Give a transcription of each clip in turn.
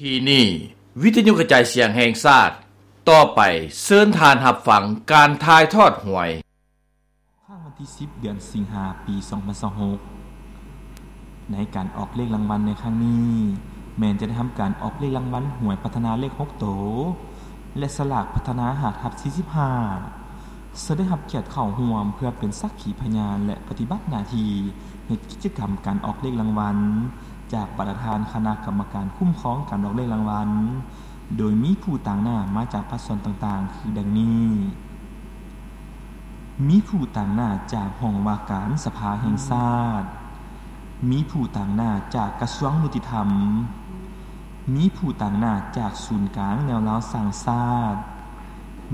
ທີ່ນີ້ ວິທະຍຸກະຈາຍສຽງແຫ່ງຊາດ, ຕໍ່ໄປເຊີນທ່ານຮັບຟັງການຖ່າຍທອດຫວຍ. ຄ້າງວັນທີສິບ ເດືອນສິງຫາ ປີສອງພັນຊາວຫົກ ໃນການອອກເລກລາງວັນໃນຄັ້ງນີ້ ແມ່ນຈະໄດ້ທຳການອອກເລກລາງວັນຫວຍພັດທະນາເລກຫົກໂຕ ແລະ ສະຫຼາກພັດທະນາ ຫ້າທັບສີ່ສິບຫ້າ ເຊິ່ງໄດ້ຮັບກຽດເຂົ້າຮ່ວມເພື່ອເປັນສັກຂີພະຍານ ແລະ ປະຕິບັດໜ້າທີ່ເຮັດກິດຈະກຳການອອກເລກລາງວັນ ຈາກປະທານຄະນະກຳມະການຄຸ້ມຄອງການອອກເລກລາງວັນ, ໂດຍມີຜູ້ຕາງໜ້າມາຈາກພາກສ່ວນຕ່າງໆ ຄືດັ່ງນີ້: ມີຜູ້ຕາງໜ້າຈາກຫ້ອງວ່າການສະພາແຫ່ງຊາດ, ມີຜູ້ຕາງໜ້າຈາກກະຊວງຍຸຕິທຳ, ມີຜູ້ຕາງໜ້າຈາກສູນກາງແນວລາວສ້າງຊາດ,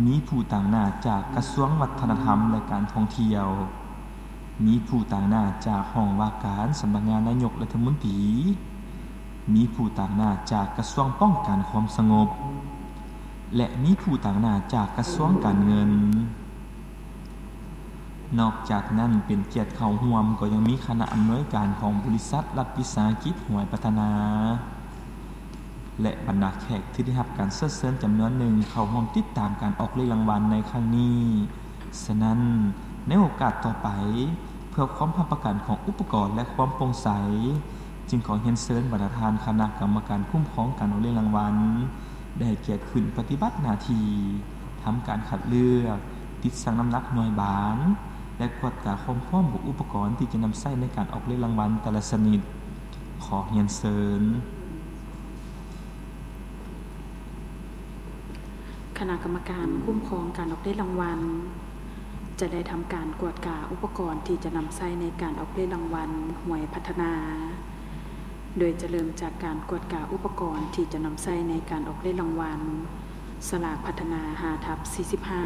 ມີຜູ້ຕາງໜ້າຈາກກະຊວງວັດທະນະທຳ ແລະ ການທ່ອງທ່ຽວ, ມີຜູ້ຕາງໜ້າຈາກຫ້ອງວ່າການສຳນັກງານນາຍົກລັດຖະມົນຕີ, ມີຜູ້ຕາງໜ້າຈາກກະຊວງປ້ອງກັນຄວາມສະຫງົບ ແລະ ມີຜູ້ຕາງໜ້າຈາກກະຊວງການເງິນ. ນອກຈາກນັ້ນ ເປັນກຽດເຂົ້າຮ່ວມກໍຍັງມີຄະນະອຳນວຍການຂອງບໍລິສັດລັດວິສາຫະກິດຫວຍພັດທະນາ ແລະ ບັນດາແຂກທີ່ໄດ້ຮັບການເຊີນເຊີນຈຳນວນໜຶ່ງເຂົ້າຮ່ວມຕິດຕາມການອອກເລກລາງວັນໃນຄັ້ງນີ້. ສະນັ້ນ, ໃນໂອກາດຕໍ່ໄປ, ເພື່ອຄວາມຮັບປະກັນຂອງອຸປະກອນ ແລະ ຄວາມໂປ່ງໃສ, ຈຶ່ງຂໍຮຽນເຊີນບັນດາທ່ານຄະນະກຳມະການຄຸ້ມຄອງການອອກເລກລາງວັນ ໄດ້ໃຫ້ກຽດຂຶ້ນປະຕິບັດໜ້າທີ່ ທຳການຄັດເລືອກ, ຕິດຊັ່ງນ້ຳໜັກໜ່ວຍບານ ແລະ ກວດກາຄວາມພ້ອມຂອງອຸປະກອນທີ່ຈະນຳໃຊ້ໃນການອອກເລກລາງວັນແຕ່ລະຊະນິດ. ຂໍຮຽນເຊີນ. ຄະນະກຳມະການຄຸ້ມຄອງການອອກເລກລາງວັນ ຈະໄດ້ທຳການກວດກາອຸປະກອນທີ່ຈະນຳໃຊ້ໃນການອອກເລກລາງວັນຫວຍພັດທະນາ, ໂດຍຈະເລີ່ມຈາກການກວດກາອຸປະກອນທີ່ຈະນຳໃຊ້ໃນການອອກເລກລາງວັນສະຫຼາກພັດທະນາ ຫ້າທັບສີ່ສິບຫ້າ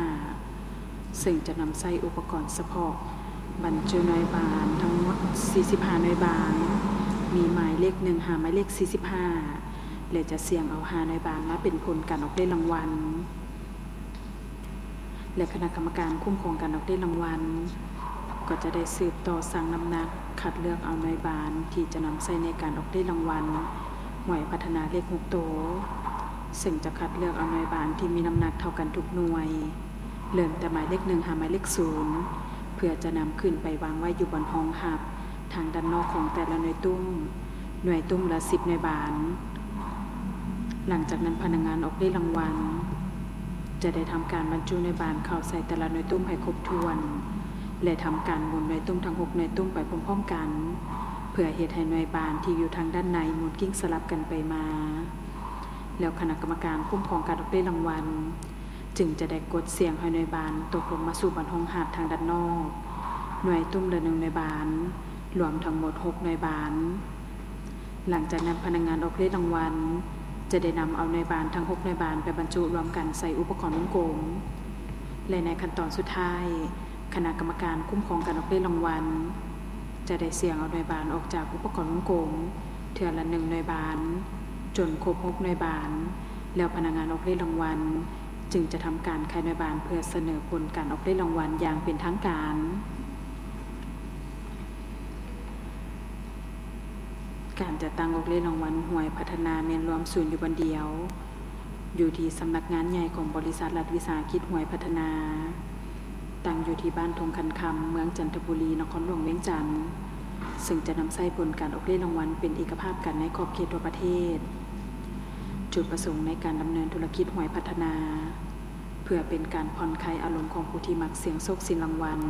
ເຊິ່ງຈະນຳໃຊ້ອຸປະກອນສະເພາະບັນຈຸໜ່ວຍບານທັງໝົດສີ່ສິບຫ້າໜ່ວຍບານ, ມີໝາຍເລກໜຶ່ງຫາໝາຍເລກສີ່ສິບຫ້າ ແລະ ຈະສ່ຽງເອົາຫ້າໜ່ວຍບານມາເປັນຜົນການອອກເລກລາງວັນ ແລະ ຄະນະກຳມະການຄຸ້ມຄອງການອອກເລກລາງວັນ ກໍຈະໄດ້ສືບຕໍ່ຊັ່ງນ້ຳໜັກ ຄັດເລືອກເອົາໜ່ວຍບານທີ່ຈະນຳໃຊ້ໃນການອອກເລກລາງວັນຫວຍພັດທະນາເລກຫົກໂຕ, ເຊິ່ງຈະຄັດເລືອກເອົາໜ່ວຍບານທີ່ມີນ້ຳໜັກເທົ່າກັນທຸກໜ່ວຍ ເລີ່ມແຕ່ໝາຍເລກໜຶ່ງຫາໝາຍເລກສູນ ເພື່ອຈະນຳຂຶ້ນໄປວາງໄວ້ຢູ່ບ່ອນຮອງຮັບທາງດ້ານນອກຂອງແຕ່ລະໜ່ວຍຕຸ້ມ, ໜ່ວຍຕຸ້ມລະສິບໜ່ວຍບານ. ຫຼັງຈາກນັ້ນພະນັກງານອອກເລກລາງວັນຈະໄດ້ທຳການບັນຈຸໜ່ວຍບານເຂົ້າໃສ່ແຕ່ລະໜ່ວຍຕຸ້ມໃຫ້ຄົບຖ້ວນ ແລະ ທຳການໝູນໜ່ວຍຕຸ້ມທັງຫົກໜ່ວຍຕຸ້ມໄປພ້ອມໆກັນ ເພື່ອເຮັດໃຫ້ໜ່ວຍບານທີ່ຢູ່ທາງດ້ານໃນໝູນກິ້ງສະຫຼັບກັນໄປມາ. ແລ້ວຄະນະກຳມະການຄຸ້ມຄອງການອອກເລກລາງວັນ ຈຶ່ງຈະໄດ້ກົດສ່ຽງໃຫ້ໜ່ວຍບານຕົກລົງມາສູ່ບ່ອນຮອງຮັບທາງດ້ານນອກ, ໜ່ວຍຕຸ້ມລະໜຶ່ງໜ່ວຍບານ, ລວມທັງໝົດຫົກໜ່ວຍບານ. ຫຼັງຈາກນັ້ນພະນັກງານອອກເລກລາງວັນຈະໄດ້ນຳເອົາໜ່ວຍບານທັງຫົກໜ່ວຍບານໄປບັນຈຸລວມກັນໃສ່ອຸປະກອນວົງກົມ ແລະ ໃນຂັ້ນຕອນສຸດທ້າຍ ຄະນະກຳມະການຄຸ້ມຄອງການອອກເລກລາງວັນຈະໄດ້ສ່ຽງເອົາໜ່ວຍບານອອກຈາກອຸປະກອນວົງກົມເທື່ອລະໜຶ່ງໜ່ວຍບານ ຈົນຄົບຫົກໜ່ວຍບານ, ແລ້ວພະນັກງານອອກເລກລາງວັນຈຶ່ງຈະທຳການຂາຍໜ່ວຍບານເພື່ອສະເໜີຜົນການອອກເລກລາງວັນຢ່າງເປັນທາງການ. ການຈັດຕັ້ງອອກເລກລາງວັນຫວຍພັດທະນາແມ່ນລວມສູນຢູ່ບ່ອນດຽວ ຢູ່ທີ່ສຳນັກງານໃຫຍ່ຂອງບໍລິສັດລັດວິສາຫະກິດຫວຍພັດທະນາ, ຕັ້ງຢູ່ທີ່ບ້ານທົ່ງຄັນຄຳ, ເມືອງຈັນທະບູລີ, ນະຄອນຫຼວງວຽງຈັນ, ເຊິ່ງຈະນຳໃຊ້ຜົນການອອກເລກລາງວັນເປັນເອກະພາບກັນໃນຂອບເຂດທົ່ວປະເທດ, ຈຸດປະສົງໃນການດຳເນີນທຸລະກິດຫວຍພັດທະນາ ເພື່ອເປັນການຜ່ອນຄາຍອາລົມຂອງຜູ້ທີ່ມັກສ່ຽງໂຊກສ່ຽງລາງວັນ,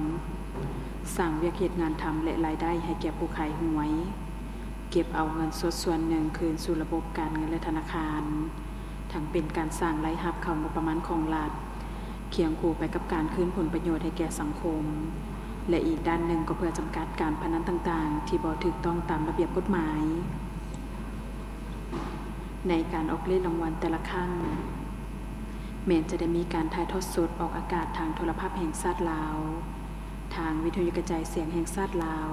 ສ້າງວຽກເຮັດງານທຳ ແລະ ລາຍໄດ້ໃຫ້ແກ່ຜູ້ຂາຍຫວຍ, ເກັບເອົາເງິນສົດສ່ວນໜຶ່ງຄືນສູ່ລະບົບການເງິນ ແລະ ທະນາຄານ, ທັງເປັນການສ້າງລາຍຮັບເຂົ້າງົບປະມານຂອງລັດ, ຄຽງຄູ່ໄປກັບການຄືນຜົນປະໂຫຍດໃຫ້ແກ່ສັງຄົມ ແລະ ອີກດ້ານໜຶ່ງກໍເພື່ອຈຳກັດການພະນັນຕ່າງໆ ທີ່ບໍ່ຖືກຕ້ອງຕາມລະບຽບກົດໝາຍ. ໃນການອອກເລກລາງວັນແຕ່ລະຄັ້ງ ແມ່ນຈະໄດ້ມີການຖ່າຍທອດສົດອອກອາກາດທາງໂທລະພາບແຫ່ງຊາດລາວ, ທາງວິທະຍຸກະຈາຍສຽງແຫ່ງຊາດລາວ,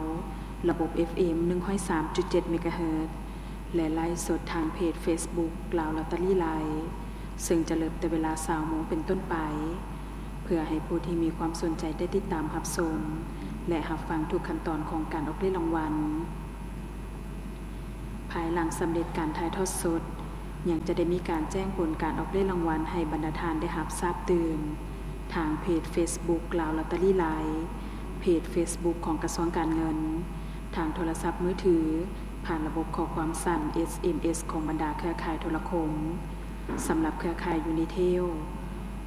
ລະບົບ ເອັຟເອັມ ໜຶ່ງຮ້ອຍສາມຈຸດເຈັດ ເມກາເຮີດ ແລະ ໄລຟ໌ສົດທາງເພຈເຟສບຸກ ລາວລອດເຕີຣີໄລຟ໌ ເຊິ່ງຈະເລີ່ມແຕ່ເວລາຊາວໂມງເປັນຕົ້ນໄປ ເພື່ອໃຫ້ຜູ້ທີ່ມີຄວາມສົນໃຈໄດ້ຕິດຕາມຮັບຊົມ ແລະ ຮັບຟັງທຸກຂັ້ນຕອນຂອງການອອກເລກລາງວັນ. ພາຍຫຼັງສຳເລັດການຖ່າຍທອດສົດ, ຍັງຈະໄດ້ມີການແຈ້ງຜົນການອອກເລກລາງວັນໃຫ້ບັນດາທ່ານໄດ້ຮັບຊາບຕື່ມ ທາງເພຈເຟສບຸກ ລາວລອດເຕີຣີ ລາຍ, ເພຈເຟສບຸກຂອງກະຊວງການເງິນ, ທາງໂທລະສັບມືຖື, ຜ່ານລະບົບຂໍ້ຄວາມສັ້ນ ເອສເອັມເອສ ຂອງບັນດາເຄືອຂ່າຍໂທລະຄົມ. ສຳລັບເຄືອຂ່າຍຢູນິເທວ,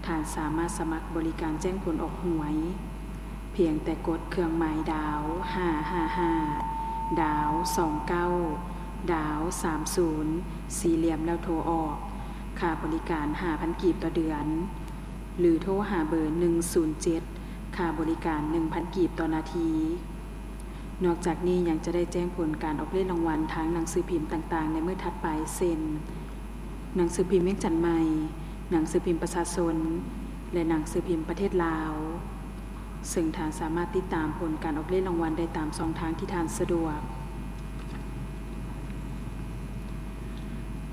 ທ່ານສາມາດສະໝັກບໍລິການແຈ້ງຜົນອອກຫວຍ ພຽງແຕ່ກົດເຄື່ອງໝາຍດາວ ຫ້າຫ້າຫ້າ ດາວ ສອງເກົ້າ ດາວ ສາມສູນ ສີ່ຫຼ່ຽມ ແລ້ວໂທອອກ. ຄ່າບໍລິການ ຫ້າພັນກີບຕໍ່ເດືອນ ຫຼື ໂທຫາເບີ ໜຶ່ງສູນເຈັດ ຄ່າບໍລິການ ໜຶ່ງພັນກີບຕໍ່ນາທີ. ນອກຈາກນີ້ຍັງຈະໄດ້ແຈ້ງຜົນການອອກເລກລາງວັນທາງໜັງສືພິມຕ່າງໆໃນມື້ຖັດໄປ ເຊັ່ນ ໜັງສືພິມວຽງຈັນໃໝ່, ໜັງສືພິມປະຊາຊົນ ແລະ ໜັງສືພິມປະເທດລາວ, ເຊິ່ງທ່ານສາມາດຕິດຕາມຜົນການອອກເລກລາງວັນໄດ້ຕາມຊ່ອງທາງທີ່ທ່ານສະດວກ.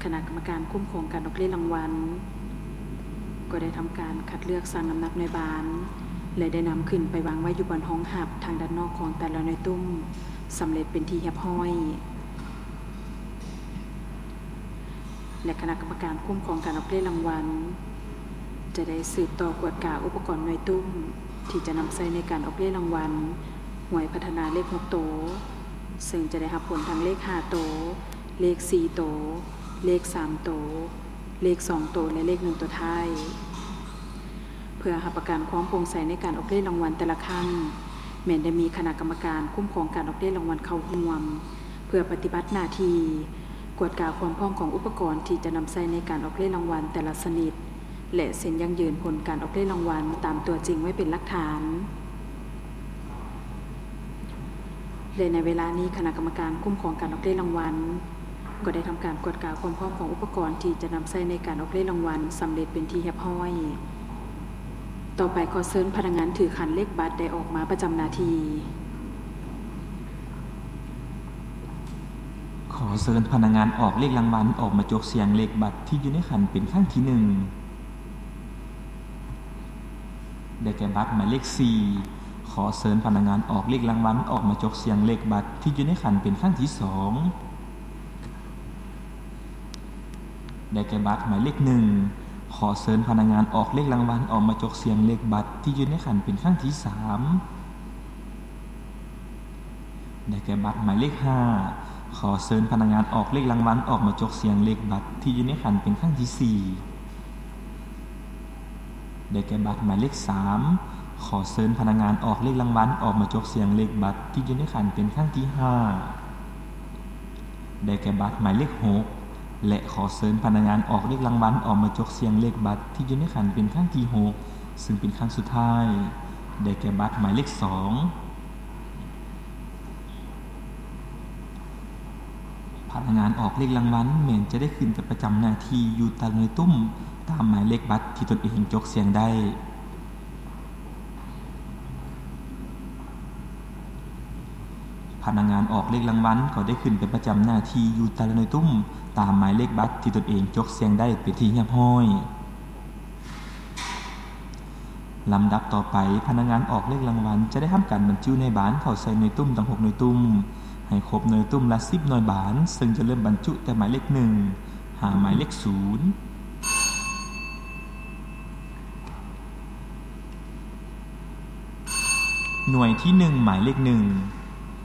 ຄະນະກຳມະການຄຸ້ມຄອງການອອກເລກລາງວັນ ກໍໄດ້ທຳການຄັດເລືອກຊັ່ງນ້ຳໜັກໜ່ວຍບານ ແລະ ໄດ້ນຳຂຶ້ນໄປວາງໄວ້ຢູ່ບ່ອນຮອງຮັບທາງດ້ານນອກຂອງແຕ່ລະໜ່ວຍຕຸ້ມ ສຳເລັດເປັນທີ່ຮຽບຮ້ອຍ. ແລະ ຄະນະກຳມະການຄຸ້ມຄອງການອອກເລກລາງວັນ ຈະໄດ້ສືບຕໍ່ກວດກາອຸປະກອນໜ່ວຍຕຸ້ມ ທີ່ຈະນຳໃຊ້ໃນການອອກເລກລາງວັນ ຫວຍພັດທະນາເລກຫົກໂຕ, ເຊິ່ງຈະໄດ້ຮັບຜົນທັງເລກຫ້າໂຕ, ເລກສີ່ໂຕ, ເລກສາມໂຕ, ເລກສອງໂຕ ແລະ ເລກໜຶ່ງໂຕທ້າຍ. ເພື່ອຮັບປະກັນຄວາມໂປ່ງໃສໃນການອອກເລກລາງວັນແຕ່ລະຄັ້ງ, ແມ່ນໄດ້ມີຄະນະກຳມະການຄຸ້ມຄອງການອອກເລກລາງວັນເຂົ້າຮ່ວມ ເພື່ອປະຕິບັດໜ້າທີ່ ກວດກາຄວາມພ້ອມຂອງອຸປະກອນທີ່ຈະນຳໃຊ້ໃນການອອກເລກລາງວັນແຕ່ລະຊະນິດ ແລະ ເຊັນຢັ້ງຢືນຜົນການອອກເລກລາງວັນຕາມຕົວຈິງໄວ້ເປັນຫຼັກຖານ. ແລະ ໃນເວລານີ້ ຄະນະກຳມະການຄຸ້ມຄອງການອອກເລກລາງວັນ ກໍໄດ້ທຳການກວດກາຄວາມພ້ອມຂອງອຸປະກອນທີ່ຈະນຳໃຊ້ໃນການອອກເລກລາງວັນສຳເລັດເປັນທີ່ຮຽບຮ້ອຍ. ຕໍ່ໄປ ຂໍເຊີນພະນັກງານຖືຂັນເລກບັດໄດ້ອອກມາປະຈຳໜ້າທີ່. ຂໍເຊີນພະນັກງານອອກເລກລາງວັນອອກມາຈົກສ່ຽງເລກບັດທີ່ຢູ່ໃນຂັນເປັນຄັ້ງທີໜຶ່ງ. ໄດ້ແກ່ບັດໝາຍເລກສີ່. ຂໍເຊີນພະນັກງານອອກເລກລາງວັນອອກມາຈົກສ່ຽງເລກບັດທີ່ຢູ່ໃນຂັນເປັນຄັ້ງທີສອງ. ໄດ້ແກ່ບັດໝາຍເລກໜຶ່ງ. ຂໍເຊີນພະນັກງານອອກເລກລາງວັນອອກມາຈົກສ່ຽງເລກບັດທີ່ຢູ່ໃນຂັນເປັນຄັ້ງທີສາມ. ໄດ້ແກ່ບັດໝາຍເລກຫ້າ. ຂໍເຊີນພະນັກງານອອກເລກລາງວັນອອກມາຈົກສ່ຽງເລກບັດທີ່ຢູ່ໃນຂັນເປັນຄັ້ງທີສີ່. ໄດ້ແກ່ບັດໝາຍເລກສາມ. ຂໍເຊີນພະນັກງານອອກເລກລາງວັນອອກມາຈົກສ່ຽງເລກບັດທີ່ຢູ່ໃນຂັນເປັນຄັ້ງທີຫ້າ. ໄດ້ແກ່ບັດໝາຍເລກຫົກ ແລະ ຂໍເຊີນພະນັກງານອອກເລກລາງວັນອອກມາຈົກສ່ຽງເລກບັດທີ່ຢູ່ໃນຂັນເປັນຄັ້ງທີຫົກ ເຊິ່ງເປັນຄັ້ງສຸດທ້າຍ. ໄດ້ແກ່ບັດໝາຍເລກສອງ. ພະນັກງານອອກເລກລາງວັນແມ່ນຈະໄດ້ຂຶ້ນໄປປະຈຳໜ້າທີ່ຢູ່ແຕ່ລະໜ່ວຍຕຸ້ມຕາມໝາຍເລກບັດທີ່ຕົນເອງຈົກສ່ຽງໄດ້. ພະນັກງານອອກເລກລາງວັນກໍໄດ້ຂຶ້ນໄປປະຈຳໜ້າທີ່ຢູ່ແຕ່ລະໜ່ວຍຕຸ້ມຕາມໝາຍເລກບັດທີ່ຕົນເອງຈົກສ່ຽງໄດ້ເປັນທີ່ຮຽບຮ້ອຍ. ລຳດັບຕໍ່ໄປ, ພະນັກງານອອກເລກລາງວັນຈະໄດ້ທຳການບັນຈຸນາຍບານເຂົ້າໃສ່ໜ່ວຍຕຸ້ມທັງຫົກໜ່ວຍຕຸ້ມ ໃຫ້ຄົບໜ່ວຍຕຸ້ມລະສິບໜ່ວຍບານ, ເຊິ່ງຈະເລີ່ມບັນຈຸແຕ່ໝາຍເລກໜຶ່ງ ຫາໝາຍເລກສູນ. ໜ່ວຍທີໜຶ່ງ ໝາຍເລກໜຶ່ງ.